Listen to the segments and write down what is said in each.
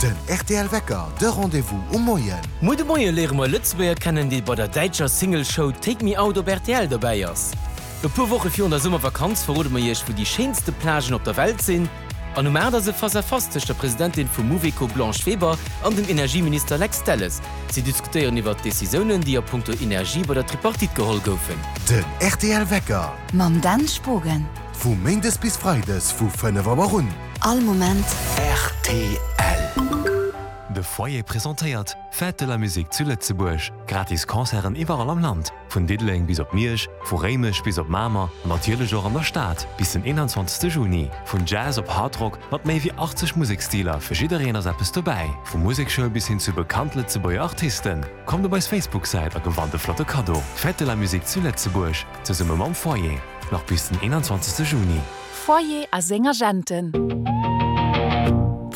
Den rtl Wecker, de Rendez-vous um Moien. Muer de Moie léiere mer e Lëtzebuerger kennen, dee bei der däitscher Single-Show Take Me Out op rtl dobäi ass. E puer Woche virun der Summervakanz verrode mer iech, wou déi schéinste Plagen op der Welt sinn. An um 8 ass e Face-à-face tëscht der Presidentin vum Mouveco Blanche Weber an dem Energieminister Lex Delles. Si diskutéieren iwwert d'Decisiounen, déi a punkto Energie bei der Tripartite geholl goufen. Den rtl Wecker. Mam Dan Spogen. Vu Méindes bis Freides vu 5 Auer un. All Moment. Rtl. De Foyer presentéiert Fête de la Musique zu Lëtzebuerg. Gratis Concerten iwwerall am Land, vun Diddeleng bis op Miersch, vu Réimech bis op Mamer an natierlech och an der Stad, bis den 21 Juni. Vun Jazz op Hardrock mat méi wéi 80 Museksstiler, fir jiddereen ass eppes dobäi. Vu Musekschoul bis hin zu bekannt Lëtzebuerger Artisten. Kommt op eis Facebook-Säit a gewannt e flotte Kaddo. Fête de la Musique zu Lëtzebuerg, zesumme mam Foyer, nach bis den 21 Juni. Foyer a seng Agenten.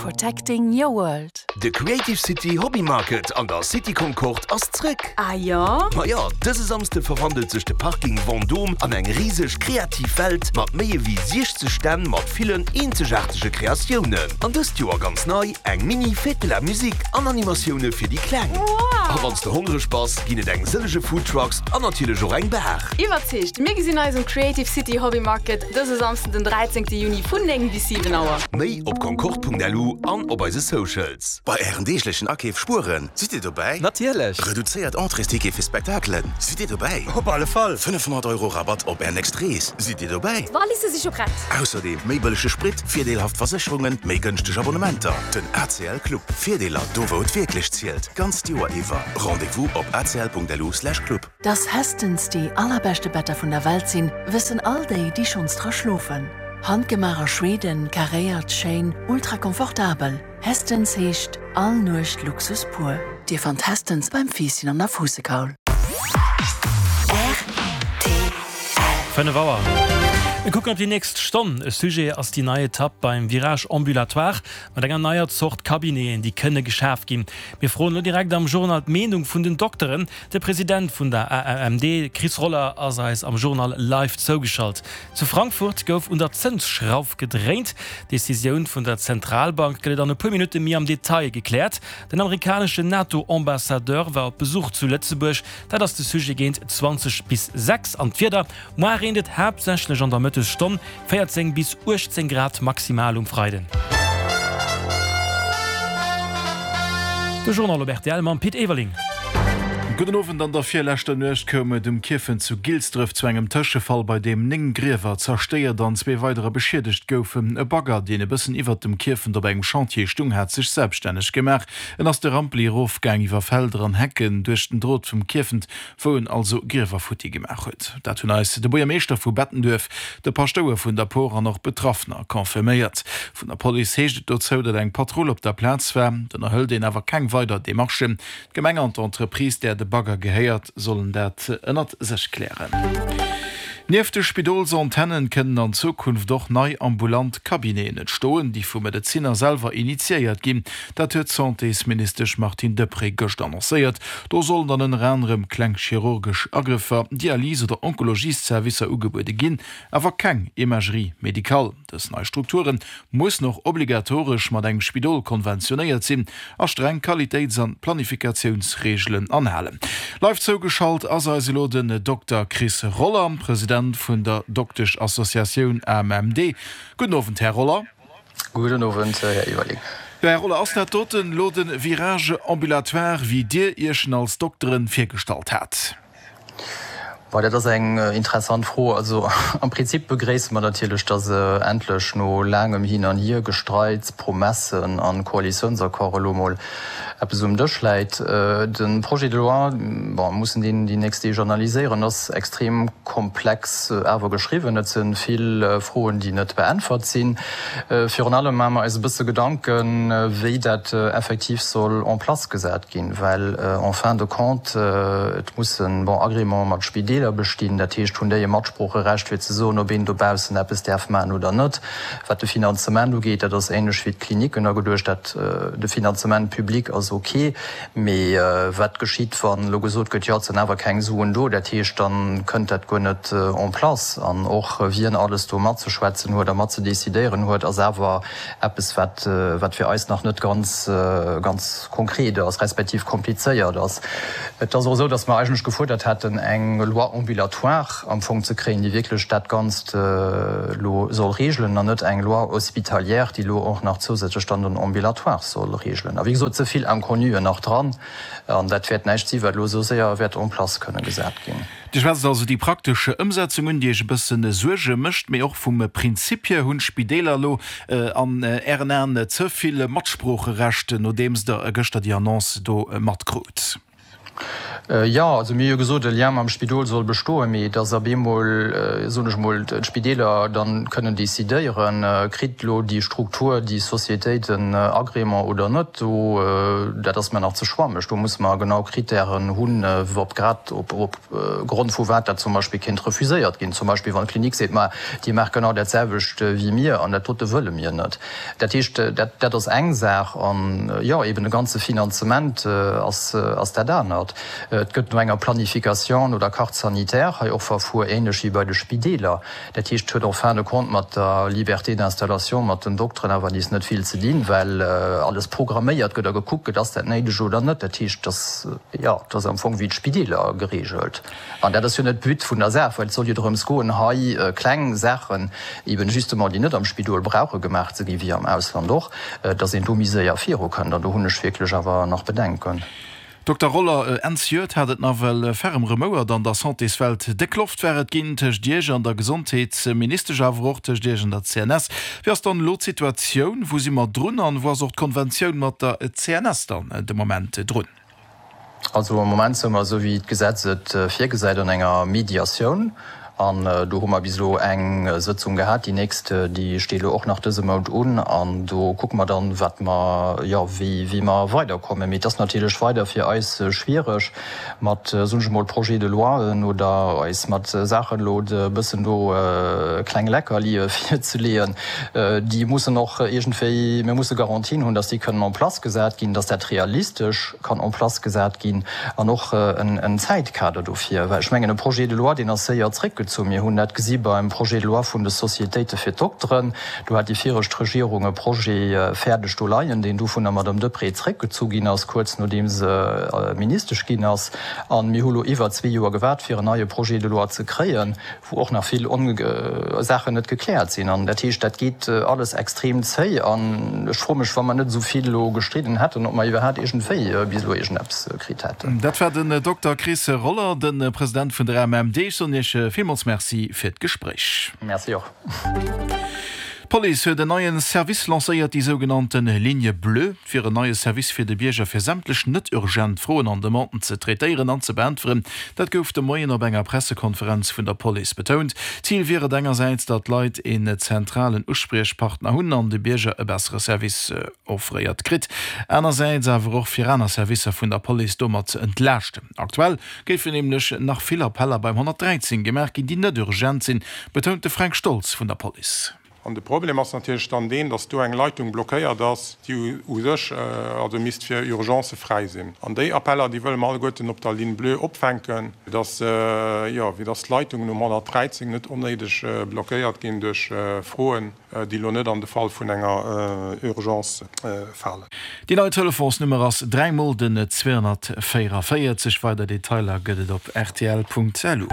Protecting your world. De Creative City Hobby Market an der City Concorde ass zréck! Ah jo? Ma jo, dëse Samsde verwandelt sech de Parking Vendôme an eng riseg kreativ Welt mat méi ewéi 60 Stänn mat villen eenzegaartege Kreatiounen. An dëst Joer ganz nei, eng Mini Fête de la Musique an Animatioune fir déi Kleng. Wow! A wann s de hongreg bass, ginn et eng sëllege Food Trucks an natierlech och eng Bar. Iwwerzeegt! Mir gesinn eis um Creative City Hobby Market dëse Samsden den 13 Juni vun 9 bis 7 Auer. Méi op concorde.lu an op eise Socials. Bei ären deeglechen Akeef spueren, sidd Dir dobäi? Natierlech! Reduzéiert Entréesticket fir Spektakelen, sidd Dir dobäi? Op alle Fall! 500 Euro Rabatt op Är nächst Rees, sidd Dir dobäi? D'Walisse si scho prett! Ausserdeem méi bëllege Sprit, virdeelhaft Versécherungen, méi gënschteg Abonnementer. Den ACL Club, Virdeeler do wou et wierklech zielt, d'ganzt Joer iwwer. Rendez-vous op acl.lu/club. Dass Hästens déi allerbeschte Better vun der Welt sinn, wëssen all déi, déi schonns dra schlofen. Handgemaach a Schweden, karéiert, schéin, ultra komfortabel. Hästens heescht all Nuecht Luxus pur. Dir fannt Hästens beim Fiisschen an der Fuussekaul. Rtl. 5 Auer. Mir kucken op déi nächst Stonn. E Sujet ass déi nei Etapp beim Virage ambulatoire mat enger neier Zort Cabineten, déi kënne geschaf ginn. Mir froen elo direkt am Journal d'Meenung vun den Dokteren. De President vun der AMMD, Chris Roller, ass eis am Journal live zougeschalt. Zu Frankfurt gouf un der Zënsschrauf gedréint. D'Decisioun vun der Zentralbank gëtt et an e puer Minutte méi am Detail gekläert. Den amerikaneschen NATO-Ambassadeur war op Besuch zu Lëtzebuerg. Dat ass de Sujet géint 20 bis 6. An d'Wieder, Moar reent et haaptsächlech an der Mëttesstonn, 14 bis 18 Grad maximal um Freiden. De Journal op rtl mam Pit Everling. Gudden Owend. An der virleschter Nuecht koum et um Kierfent zu Gilsdref zu engem Tëschefall, bei deem 9 Griewer zerstéiert an zwee weiderer beschiedegt goufen. E Bagger, deen e bëssen iwwert dem Kierfent op engem Chantier stung, hat sech selbstänneg gemaach. En ass de Rampli erofgaang, iwwer Felder an Hecken, duerch den Drot vum Kierfent wou en also Griewer futti gemaach huet. Dat hunn eis de Buergermeeschter vu Bettenduerf, de Paschtouer vun der Por an och Betraffener confirméiert. Vun der Police heescht et dozou, datt eng Patrull op der Plaz war. D'ënnerhëlt een awer keng weider Demarchen. D'Gemeng an d'Entreprise, där de Bagger gehéiert, sollen dat ënnert sech klären. Nieft de Spidolsantennen kënnen an Zukunft och nei ambulant Cabineten entstoen, déi vu Medezinner selwer initiéiert ginn. Dat huet d'Santésministesch Martine Deprez gëscht annoncéiert. Do sollen dann ënner anerem kleng chirurgesch Agrëffer, Dialys oder Onkologiesservicer ugebuede ginn, awer keng Imagerie médicale. Dës nei Strukture mussen och obligatoresch mat engem Spidol konventionéiert sinn a streng Qualitéits an Planifikatiounsreegelen anhalen. Live zougeschalt ass eis elo den Dokter Chris Roller, President vun der Dokteschassociatioun AMMD. Gudden Owend, Här Roller. Gudden Owend, Här Everling. Jo, Här Roller, ass dat doten elo de Virage ambulatoire, wéi Dir Iech en als Dokteren virgestallt hat? Bon, dat ass eng interessant Fro. Also am Prinzip begréisse mer natierlech, dass endlech no laangem Hin an Hiergestreits, Promessen a Koalitiounsaccord elo emol eppes um Dësch läit. De Projet de loi, bon, mir mussen deen déi nächst Deeg analyséieren, ass extrem komplex awer geschriwwen. Et si vill Froen, déi net beäntwert sinn. Virun allem maache mer eis e bësse Gedanken, wéi dat effektiv soll en place gesat ginn, well en fin de compte et mussen, bon, Agréments mat Spideeler. Spideeler bestinn. Dat heescht, hunn déi e Matsproocherecht fir ze soen, ob een dobaussen eppes däerf maachen oder net? Wat de Finanzement ugeet, dat ass ähnlech wéi d'Klinicken ageduecht, dat de Finanzement public ass ok, mee wat geschitt, wann elo gesot gëtt, jo et sinn awer keng Suen do, dat heescht, da kënnt dat guer net en place. An och wien alles do matzeschwätzen huet a matzedecidéieren huet, ass awer eppes wat wat fir eis nach net ganz ganz konkret ass, respektiv komplizéiert ass. Et ass och esou, datt mer eigentlech gefuerdert hätten, eng Loi ambulatoire am Fong ze kréien, déi wierklech dat Ganzt elo soll regelen, an net eng Loi hospitalière, déi elo och nach zousätzlech dann den Ambulatoire soll regelen. A wéi gesot, ze vill Inconnuen nach dran, an dat wäert näischt si wat elo esou séier wäert en place kënne gesat ginn. Dir schwätzt also déi praktesch Ëmsetzung un, déi Iech e bësse Suerge mécht, mee och vum Prinzip hier hunn d'Spideeler elo an Ären Aen ze vill Matsproocherecht, nodeems Der gëschter déi Annonce do matkrut? Jo, also mir hu jo gesot, e Lien mam Spidol soll bestoen, mee dass ab eemol, soen ech emol, d'Spideeler dann kënnen decidéieren, kritt elo déi Struktur, déi Sociétéit en Agrément oder net, do, dat ass mer nach ze schwammeg. Do musse mer genau Kritären hunn, ob grad op op Grond vu wat dat zum Beispill kéint refuséiert ginn. Zum Beispill wann d'Klinik seet, ma Dir maacht genau dat selwecht wéi mir an dat dote wëlle mir net. Dat heescht, dat dat ass eng Saach an, jo, eben de ganze Finanzement ass ass dat anert. Et gëtt no enger Planification, no der Carte sanitaire hei och verfuer, ähnlech wéi bei de Spideeler. Dat heescht, et huet en fin de compte mat der Liberté d'installation, mat den Dokteren awer nees net vill ze dinn, well alles programméiert gëtt a gekuckt gëtt, ass dat néideg oder net. Dat heescht, dass, jo, et ass am Fong wéi d'Spideeler geregelt. An dat ass jo net d'But vun der Saach, well et soll jo drëms goen, hei kleng Saachen eben justement, déi net am Spidol brauche gemaach ze ginn, wéi am Ausland och, dass een do méi séier virukënnt. An do hunn ech wierklech awer nach Bedenken. Dokter Roller, Enn zejoert hat et nawell ferrem remouert an der Santéswelt. Déck Loft war et ginn tëscht Iech an der Gesondheetsministesch, awer och tëscht Iech an der CNS. Wéi ass dann elo d'Situatioun? Wou si mer drun an wou ass och d'Konventioun mat der CNS dann de Moment drun? Also am Moment si mer, esou wéi d'Gesetz et virgesäit, an enger Mediatioun. An do hu mer bis elo eng Sëtzung gehat. Déi nächst, déi steet elo och nach dëse Mount un. An do kucke mer dann, wat mer, jo, wéi, wéi mer weiderkommen. Mee et ass natierlech weider fir eis schwiereg mat, soen ech emol, Projets de loien oder eis mat Saachen elo e bëssen do kleng Leckerlie virzeleeën. Déi mussen och iergendwéi, mir musse Garantien hunn, dass déi kënnen en place gesat ginn, dass dat realistesch kann en place gesat ginn an och en Zäitkader dofir, well ech mengen, e Projet de loi, deen ass séier zréckgezunn. Mir hunn dat gesi beim Projet de loi vun de Sociétéite fir d'Dokteren. Do hat déi viregt Regierung e Projet fäerdeg do leien, deen du vun der Madame Deprez zréckgezu ginn ass, kuerz nodeem se Ministesch ginn ass. A mir hu lo iwwer zwee Joer gewaart, fir en neie Projet de loi ze kréien. wou och nach vill Saachen net gekläert sinn. An dat heescht, dat geet alles extrem zéi. An ech froe mech, wa mer net esou vill elo gestridden hätten, ob mer iwwerhaapt iergendwéi bis elo iergendeppes kritt hätten. Dat war den Dokter Chris Roller, de President vun der AMMD. Ech soen Iech villmools Merci fir d'Gespréich. Merci och. D'Police huet en neien Service lancéiert, déi sougenannten Ligne bleue. Et wier en neie Service fir de Bierger fir sämtlech net urgent Froen an Demanden ze traitéieren an ze beäntweren. Dat gouf de Moien op enger Pressekonferenz vun der Police betount. Zil wier et engersäits, datt d'Leit een zentralen Uspriechpartner hunn an de Bierger e bessere Service offréiert kritt. Anersäits awer och fir aner Servicer vun der Police domat ze entlaaschten. Aktuell géifen nämlech nach vill Appeller beim 113 gemaach ginn, déi net urgent sinn, betount de Fränk Stolz vun der Police. An de Problem ass natierlech dann deen, dass do eng Leitung blockéiert ass, déi u sech also misst fir Urgencë fräi sinn. An déi Appeller, déi wëlle mer alleguerten op der Ligne bleue opfänken, fir dass, jo, fir dass d'Leitungen um 113 net onnéideg blockéiert ginn duerch Froen, déi elo net an de Fall vun enger Urgence falen. Déi nei Telefonsnummer ass 3 mol den 244. Weider Detailer gëtt et op rtl.lu.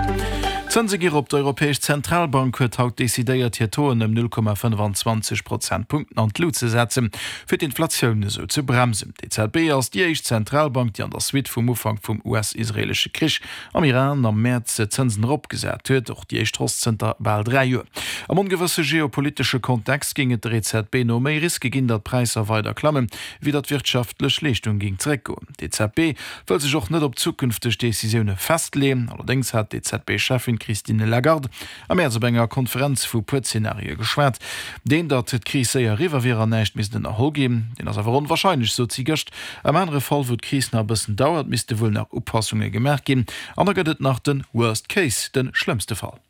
D'Zënse gi rop, D'Europäesch Zentralbank huet haut decidéiert, hir Tauxen ëm 0,25 Prozentpunkten an d'Lut ze setzen, fir d'Inflatioun esou ze bremsen. D'EZB ass déi éischt Zentralbank, déi an der Suite vum Ufank vum US-israeelesche Krich am Iran am Mäerz d'Zënsen eropgesat huet, och déi éischt Hausse zënter bal 3 Joer. Am ongewësse geopolitesche Kontext géing et der EZB no méi Riske ginn, datt d'Präisser weider klammen, wéi datt d'wirtschaftlech Leeschtung géing zeréckgoen. D'EZB wëll sech och net op zukünfteg Decisioune festleeën. Allerdéngs hat d'EZB-Cheffin. Christine Lagarde am Mäerz op enger Konferenz vu puer Zenarie geschwat. Deen, datt d'Kris séier eriwwer wier an näischt misst ënnerholl ginn, deen ass awer onwarscheinlech, sot si gëscht. Am anere Fall, wou d'Kris nach e bëssen dauert, misste wuel nach Upassunge gemaach ginn. An da gëtt et nach de Worst Case, de schlëmmste Fall.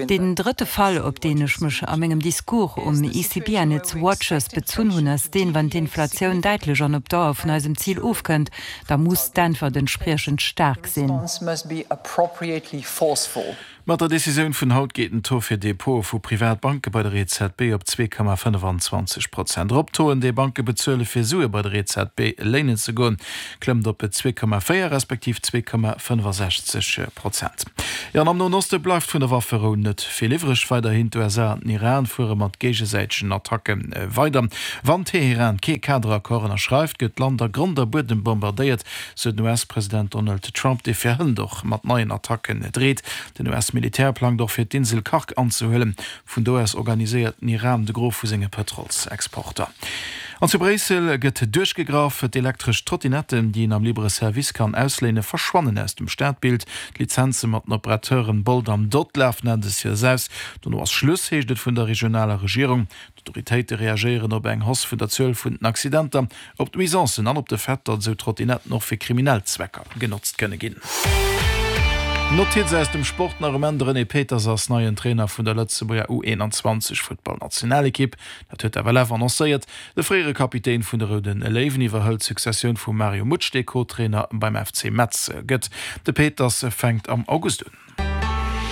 Deen drëtte Fall, op deen ech mech a mengem Discours um ECB and its Watchers bezunn hunn, ass deen, Wann d'Inflatioun däitlech an op Dauer vun eisem Zil ofkënnt, da muss d'Äntwert entspriechend staark sinn. Mat der Decisioun vun haut geet den Taux fir Depote vu Privatbanke bei der EZB op 2,25 Prozent erop. D'Tauxen, déi Banke bezuele fir Sue bei der EZB léinen ze goen, klëmmt op 2,4 respektiv 2,65 Prozent. Jo, an am Noen Oste bleift vun der Wafferou net vill iwwreg. Weiderhin, d'USA an den Iran fuere mat géigesäitegen Attacke weider. Wann Teheran kee Kaderaccord ënnerschreift, gëtt d'Land a Grond a Buedem bombardéiert, sou den US-President Donald Trump, dee fir hënt och mat neien Attacken dreet. Den US-Militär plangt och fir d'Insel Kharg anzehuelen. Vun do aus organiséiert den Iran de Gros vu senge Pëtrolsexporter. An zu Bréissel gëtt duerchgegraff. D'elektresch Trottinetten, déi een am Libre Service kann ausléinen, verschwannen aus dem Stadbild. D'Lizenze mat den Operateuren Bolt an Dott lafen Enn des Joers aus. Dono ass Schluss, heescht et vun der regionaler Regierung. D'Autoritéite reagéieren op eng Hausse vun der Zuel vun den Accidenter, op d'Nuisancen an op de Fait, datt esou Trottinetten och fir kriminell Zwecker genotzt kënne ginn. Notiz aus dem Sport nach um Enn, De René Peters ass neien Trainer vun der Lëtzebuerger U21 Futtballnationalekipp. Dat huet d'FLF annoncéiert. De fréiere Kapitän vun de Roude Léiwen iwwerhëlt d'Successioun vum Mario Mutsch, dee Co-Trainer beim FC Metz gëtt. De Peters fänkt am August un.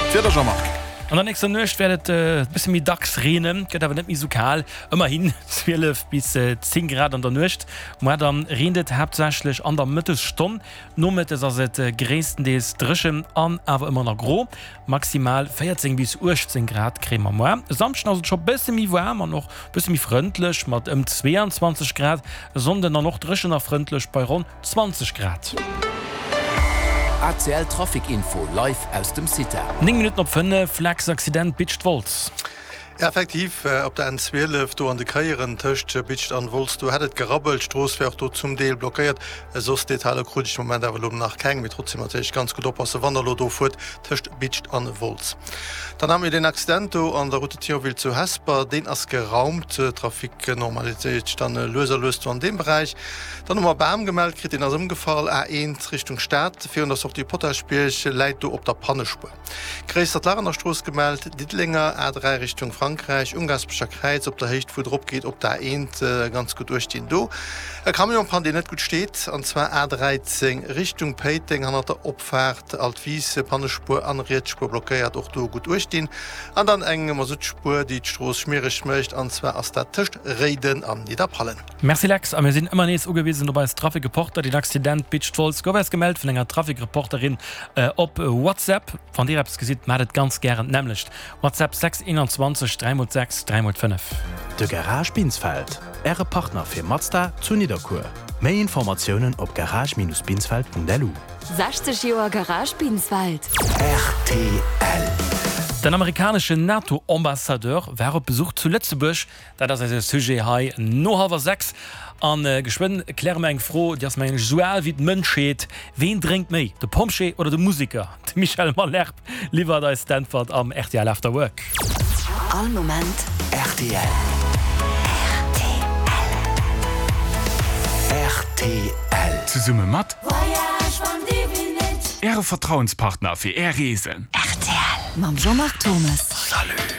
D'Wieder, Jean-Marc. An der nächster Nuecht wäert et e bësse méi dacks reenen, gëtt awer net méi sou kal, ëmmerhin 12 bis 10 Grad an der Nuecht. Moar dann reent et haaptsächlech an der Mëttesstonn, nomëttes ass et gréisstendeels dréchen an awer ëmmer nach gro. Maximal 14 bis 18 Grad kréie mer moar. E Samschden ass et scho bësse méi waarm an och bësse méi frëndlech mat ëm 22 Grad, e Sonnden dann och dréchen a frëndlech bei ronn 20 Grad. ACL Trafic Info live aus dem CITA. 9 Minutten op 5, Flex Accident Bitscht Wolz. Effektiv, op der N12 do an de Kéieren tëscht Bitscht an Wolz, do hätt et gerabbelt. D'Strooss wär och do zum Deel blockéiert. Soss Detailer krut ech de Moment awer elo nach keng. Mee trotzdem natierlech ganz gutt oppassen, wann der elo do fuert tëscht Bitscht an Wolz. Dann hate mir deen Accident do an der Route de Thionville zu Hesper. Deen ass geraumt. Trafic normaliséiert sech dann lues a lues do an deem Beräich. Dann hu mer e Bam gemellt kritt, deen ass ëmgefall, A1 Richtung Stad, virun der Sortie Potaschbierg, läit do op der Pannespuer. Gréissert Lach an der Strooss gemellt, Diddelenger A3 Richtung Frankräich, um Gaasperecher Kräiz op der Héicht wou et erop geet op d'A1, ganz gutt uecht dinn do. E Camion panne deen net gutt steet, an zwar A13 Richtung Péiteng, hannert der Opfaart Altwis, Pannespuer an riets Spuer blockéiert, och do gutt uecht dinn. An dann eng Masuttspuer déi d'Strooss schmiereg mécht, an zwar ass dat tëscht Réiden an Nidderpallen. Merci Lex, a mir sinn ëmmer nees ugewisen op eis Trafikreporter. Den Accident Beach Wolz gouf eis gemellt vun enger Trafikreporterin op WhatsApp. Wann dir eppes gesitt, maacht et ganz gären d'nämmlecht. WhatsApp 6 21 3 x 6 3 x 5. De Garage Binsfeld, Äre Partner fir Mazda zu Nidderkuer. Méi Informatiounen op garage-binsfeld.lu. 60 Joer Garage Binsfeld. Rtl. Den amerikaneschen NATO-Ambassadeur war op Besuch zu Lëtzebuerg. Dat ass eise Sujet hei no hallwer 6. A geschwënn kläre mer eng Fro, déi ass mengen ech esou al wéi d'Mënschheet, Ween drénkt méi, de Pompjee oder de Museker? De Michel Malherbe liwwert eis d'Äntwert am rtl After Work. All Moment rtl. Rtl. Zesumme mat Äre Vertrauenspartner fir Är Reesen. Rtl mam Jean-Marc Thomes. Salut.